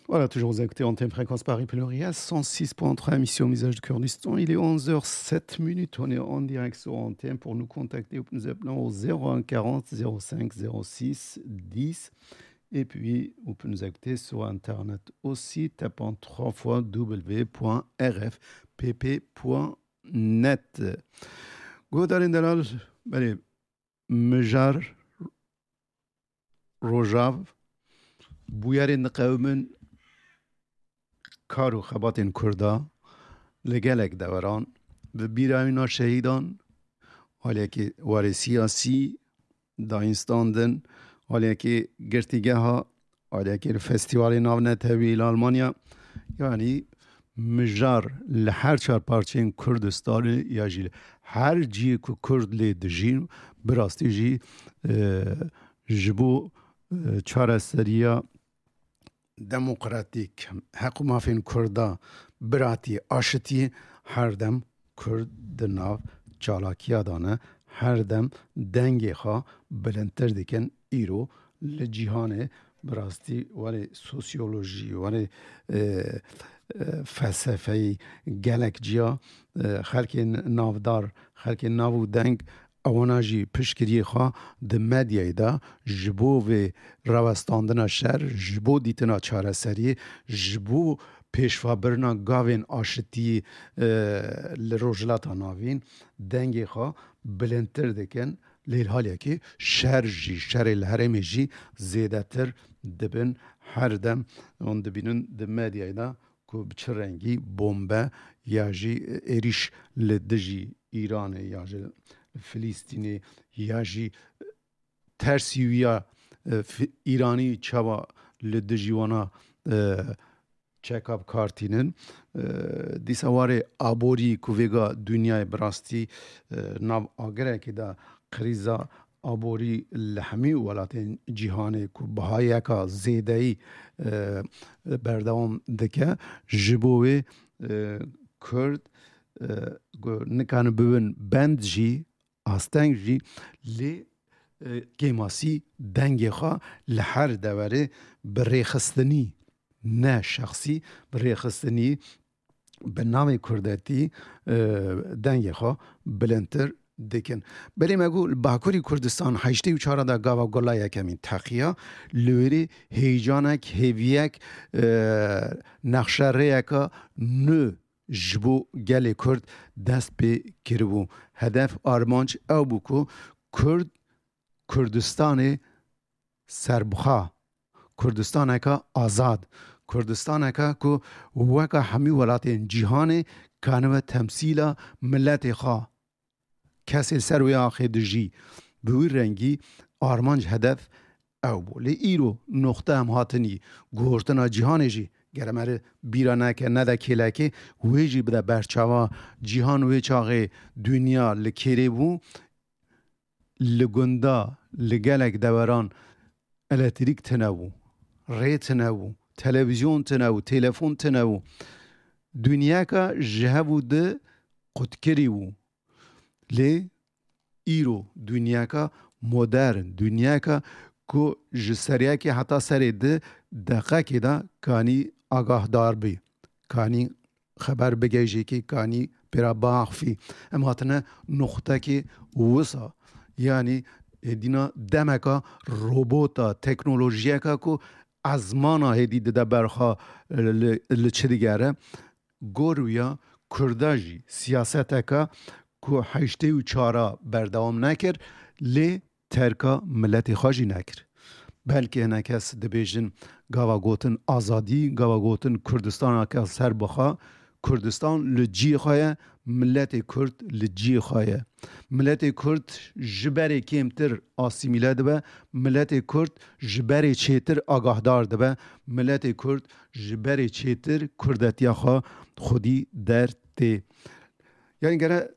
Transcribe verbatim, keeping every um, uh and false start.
Voilà, toujours vous écoutez Antenne Fréquence Paris Pluriel, cent six point trois, émission Visage du Kurdistan. Il est onze heures sept minutes. On est en direct sur Antenne. Pour nous contacter, vous pouvez nous appeler au zéro un quarante zéro cinq zéro six dix. Et puis, vous pouvez nous écouter sur Internet aussi, tapant trois fois w point r f p p point net. Guhdarên delal, belê, mijar Rojav bûyerên diqewimin kar û xebatên Kurda li gelek deveran, bi bîrayîna şehîdan, aliyekî warê siyasî dayîn standin, aliyekî girtîgeha, aliyekî li festîvalê navnetewî li Almanya, yanî mijar li her çar parçeyên Kurdistanê ya jî li her cihê ku Kurd lê dijîn, bi rastî jî, e, ji bo, e, çareseriya demokratîk, heq û mafên Kurda, biratî, aşitî, her dem Kurd di nav çalakiya de ne, her dem dengê xwe bilindtir dikin. Îro li cîhanê bi rastî warê sosyolojî, warê, e, e, felsefeyî gelek ciya, e, xelkên navdar, xelkên nav û deng, ewana jî piştgiriyê xwe di medyayê de ji bo vê rawestandina şer, ji bo dîtina çareseriyê, ji bo pêşvabirina gavên aşitiyê, e, li Rojhilata Navîn dengê xwe bilindtir dikin. Lê li haliyekê şer jî, şerê li herêmê jî zêdetir dibin. Her dem hûn dibînin di medyayê de ku bi çi rengî bombe ya jî êrîş li dijî Îranê ya jî Filîstînê ya jî tersî wî ya, e, Fi-, Îranî çawa li dijî wana, e, çeka bi kar tînin. E, dîsa warê aborî ku vêga dinyayê bi rastî, e, nav agirekê de krîza aborî li hemî welatên cîhanê ku bihayeka zêdeyî, e, berdewam dike, ji bo wê, e, Kurd, e, ku nikane bibin bend jî, asteng jî, lê, e, kêmasî dengê xwe li her deverê bi rêxistinî, ne şexsî, bi rêxistinî, bi navê kurdetî, e, dengê xwe bilindtir dikin. Belê me got, li Bakurî Kurdistan heştê û çar de gava gula yekemîn teqiya, li wêrê heyecanek, hêviyek, e, nexşerêyeka nû ji bo gelê Kurd dest pê kiribû. Hedef, armanc ew bû ku Kurd Kurdistanê serbixwe, Kurdistaneke azad, Kurdistaneke ku weke hemî welatên cîhanê kanibe temsîla miletê xwe, kesê ser wê axê dijî, bi wî rengî armanc, hedef ew bû. Lê îro noxte em hatinî, guhortina cîhanê jî gere me re bîra neke, nede kêlekê, wê jî bide berçava cîhan. Wê çaxê dinya li kêrê bû, li gunda, li gelek deveran elektrîk tine bû, rê tine bû, televîzyon tine bû, telefon tine bû. Dinyaka ji hev û di qutkirî bû. Lê îro dinyaka modern, dinyaka ku ji seriyekê heta serê di deqekê de kanî agahdar bî, kanî xeber bigihîjî, kanî pê re biaxifî. Em hatine nuqtekê wisa, yanî hêdîna demeka robota, teknolojiyeka ku ezmana hêdî dide ber xwe li, li çi digere. Gor wîya Kurda jî siyaseteke ku heştê û çara berdewam nekir, lê terka miletê xwe jî nekir. Belkî hinek kes dibêjin, gava gotin azadî, gava gotin Kurdistaneke serbixwe, Kurdistan li cihê xwe ye, miletê Kurd li cihê xwe ye. Miletê Kurd ji berê kêmtir asîmîle dibe, miletê Kurd ji berê çêtir agahdar dibe, miletê Kurd ji berê çêtir kurdetiya xwe xwedî dertê. Yanî gere